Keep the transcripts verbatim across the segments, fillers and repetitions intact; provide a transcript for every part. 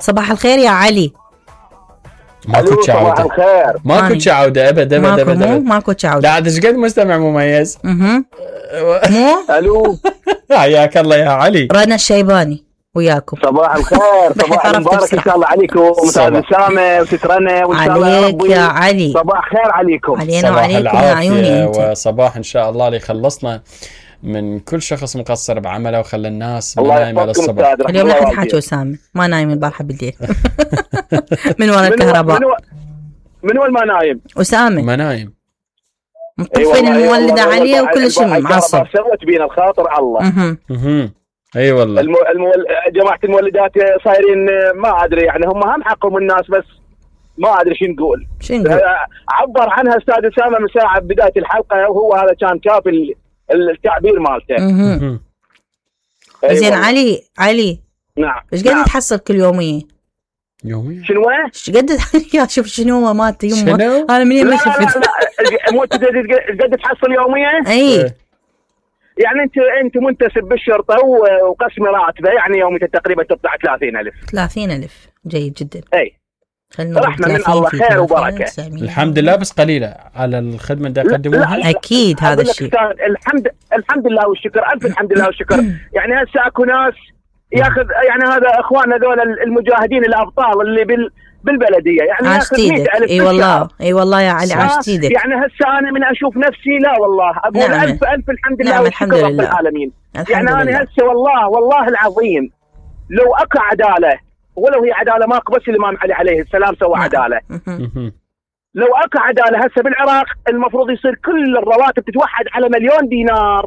صباح الخير يا علي. ماكو عودة، ماكو عودة ابد ابد ماكو ابد مو ماكو عودة. لا عاد ايش قد مستمع مميز. اها مو الو حياك الله يا علي. رنا الشيباني وياكم. صباح الخير، صباح المبارك ان شاء الله عليكم استاذ اسامه وسترنا وان شاء الله يا عليك يا علي. صباح خير عليكم. علينا وعليكم يا عيوني انت. وصباح ان شاء الله اللي خلصنا من كل شخص مقصر بعمله وخلى الناس نايمه للصبح. اليوم لا تحكي اسامه ما نايم البارحه بالليل من وراء الكهرباء. من وين ما نايم؟ اسامه ما نايم مطفين المولده عليه وكل شيء معصب. سوت بينا الخاطر الله. اها اها اي والله. المو... المو... جماعه المولدات صايرين ما ادري يعني هم هم حقهم الناس بس ما ادري شو نقول. شو نقول؟ عبر عنها استاذ اسامه من ساعه بدايه الحلقه وهو هذا كان كافي التعبير مالته. اها زين علي علي نعم ايش قاعد نعم. تحصل كل يوميه؟ يوميه شنو؟ ايش قاعد يا شوف شنو هو مالته يمه انا منين ما شفت. لا لا مو قاعد تحصل يوميه؟ اي يعني انت انت منتسب بالشرطه وقسم راتبه يعني يومي تقريبا تطلع ثلاثين ألف. ثلاثين ألف جيد جدا. اي رحمه من الله خير وبركه. الحمد لله بس قليله على الخدمه اللي يقدموها. اكيد هذا الشيء. الحمد الحمد لله والشكر الف الحمد لله والشكر. يعني هسه اكو ناس ياخذ يعني هذا اخواننا ذول المجاهدين الابطال اللي بال بالبلديه يعني ياخذ مئة ألف. اي والله اي والله يا علي عاشت ايدك. يعني هسه انا من اشوف نفسي لا والله اقول نعم. الف الف الحمد لله نعم والشكر رب العالمين. يعني لله. انا هسه والله والله العظيم لو اكو عداله ولو هي عداله ماكو بس الامام علي عليه السلام سوى عداله. لو اكو عداله هسه بالعراق المفروض يصير كل الرواتب تتوحد على مليون دينار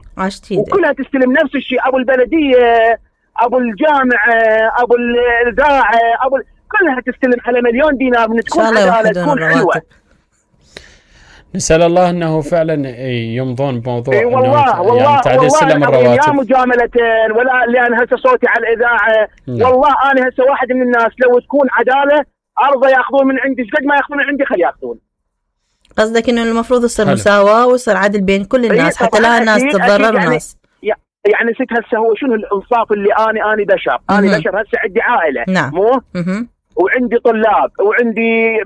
وكلها تستلم نفس الشيء. ابو البلديه ابو الجامعه ابو الاذاعه ابو كلها تستلم على مليون دينار من تكون عداله تكون حلوه. نسال الله انه فعلا يمضون بموضوع إيه والله والله يعني تعديل سلم الرواتب. لا مجامله ولا لان هسه صوتي على الاذاعه. والله انا هسه واحد من الناس لو تكون عداله ارضى ياخذون من عندي قد ما ياخذون من عندي خلي ياخذون. قصدك انه المفروض يصير مساواه ويصير عدل بين كل الناس حتى لا الناس تتضرر الناس. يعني يعني ست هسه هو شنو الانصاف اللي اني اني بشر انا بشر هسه عندي عائله. نعم. مو وعندي طلاب وعندي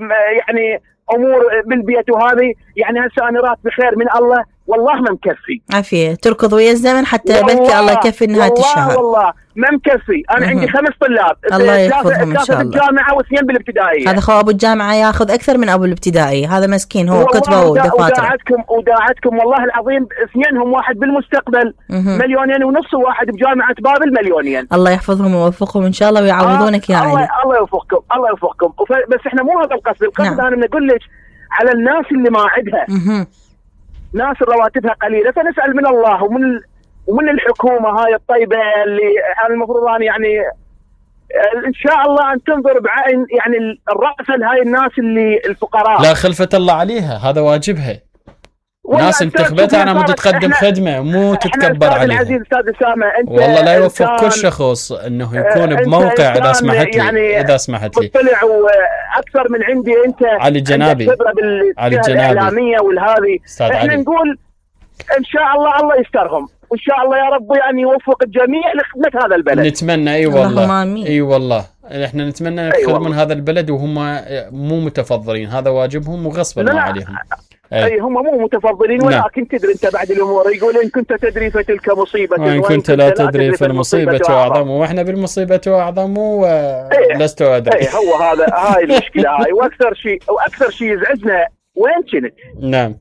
يعني امور بالبيت وهذه يعني هسه انا راتبي خير من الله والله ما مكفي. عافيه تركض ويا الزمن حتى بلكي الله يكفي نهايه الشهر. والله ما مكفي. انا عندي خمس طلاب الله يحفظهم ان شاء الله. بالجامعه واثنين بالابتدائيه. هذا خو ابو الجامعه ياخذ اكثر من ابو الابتدائيه. هذا مسكين هو كتبه ودفاتره. وداعتكم وداعتكم والله العظيم اثنينهم واحد بالمستقبل مليونين ونص وواحد بجامعه بابل مليونين. الله يحفظهم ويوفقهم ان شاء الله ويعوضونك آه يا علي. الله الله يوفقكم الله يوفقكم. بس احنا مو هذا القصد. القصد نعم. انا بقول لك على الناس اللي ما عندها ناس رواتبها قليله فنسال من الله ومن ومن الحكومه هاي الطيبه اللي المفروض ان يعني ان شاء الله ان تنظر بعين يعني الرأفه لهاي الناس اللي الفقراء. لا خلفه الله عليها هذا واجبها. ناس انتخبتها انا مو تقدم خدمه مو تتكبر عليها. العزيز استاذ اسامه انت والله لا يوفق كل شخص انه يكون بموقع اذا سمحت لي يعني اذا سمحت لي طلع واكثر من عندي انت علي الجنابي علي الجنابي الاعلاميه والهذه احنا علي. نقول ان شاء الله الله يسترهم وان شاء الله يا رب يعني يوفق الجميع لخدمه هذا البلد. نتمنى اي والله اي والله احنا نتمنى يخدمون هذا البلد وهم مو متفضلين. هذا واجبهم وغصبا عليهم. اي أي هم مو متفضلين ولكن تدري انت بعد الامور يقول ان كنت تدري فتلك مصيبه وان كنت لا تدري فالمصيبه اعظم واحنا بالمصيبه اعظم ولست ادري. اي هو هذا هاي المشكله هاي. واكثر شيء واكثر شيء يزعجنا وين كنت؟ نعم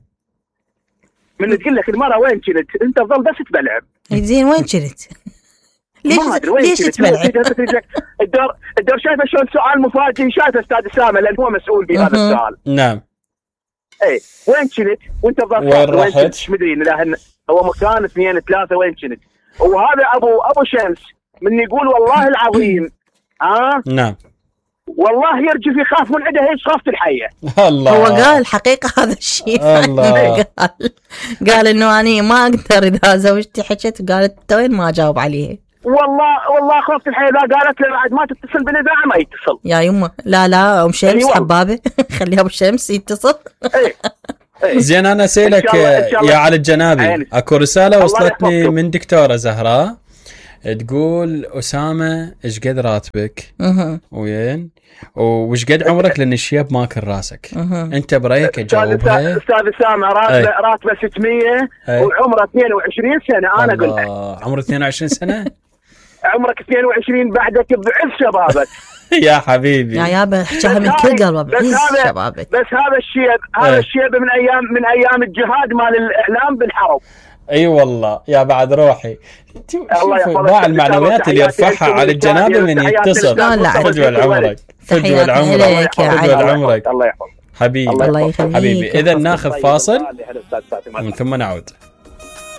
من تقول لك المراه وين كنت انت تظل بس تبلعب. زين وين كنت؟ ليش ليش تبلعب؟ الدور الدور شايفه شلون سؤال مفاجئ شايفه استاذ اسامه لان هو مسؤول بهذا السؤال. نعم اي وين كنت وانت ضربت وين رحت؟ مش مدري لأن هو مكان اثنين ثلاثه وين كنت؟ وهذا ابو ابو شمس من يقول والله العظيم ها آه؟ نعم والله يرجف يخاف من عنده هيك خافت الحيه. الله هو قال حقيقه هذا الشيء. الله قال قال انه انا ما اقدر اذا زوجتي حكت قالت وين ما اجاوب عليه. والله والله خفت الحين اذا قالت له بعد ما تتصل بالاذاعه ما يتصل. يا يمه لا لا ام شمس حبابه خليها ابو شمس يتصل. ايه ايه زين انا اسالك يا علي الجنابي اكو رساله وصلتني من دكتوره زهراء تقول أسامة إيش قد راتبك وين وش قد عمرك لأن الشيب ماكل راسك. أنت برأيك تجاوبها. أستاذ أسامة راتبه راتبه ستمية وعمره اثنين وعشرين سنة. أنا قلت عمره اثنين وعشرين سنة. عمرك اثنين وعشرين بعدك بعز شبابك. يا حبيبي يا يابا احكيها من كل قلبه بعز شبابك. بس هذا الشيب هذا الشيب من ايام من ايام الجهاد مال الاعلام بالحرب. اي أيوة والله يا بعد روحي. شوفوا باع المعنويات اللي يرفعها على الجنابه من يتصل. فجوة لعمرك فجوة لعمرك فجوة لعمرك. الله يحفظك حبيبي حبيبي. اذا ناخذ فاصل ومن ثم نعود.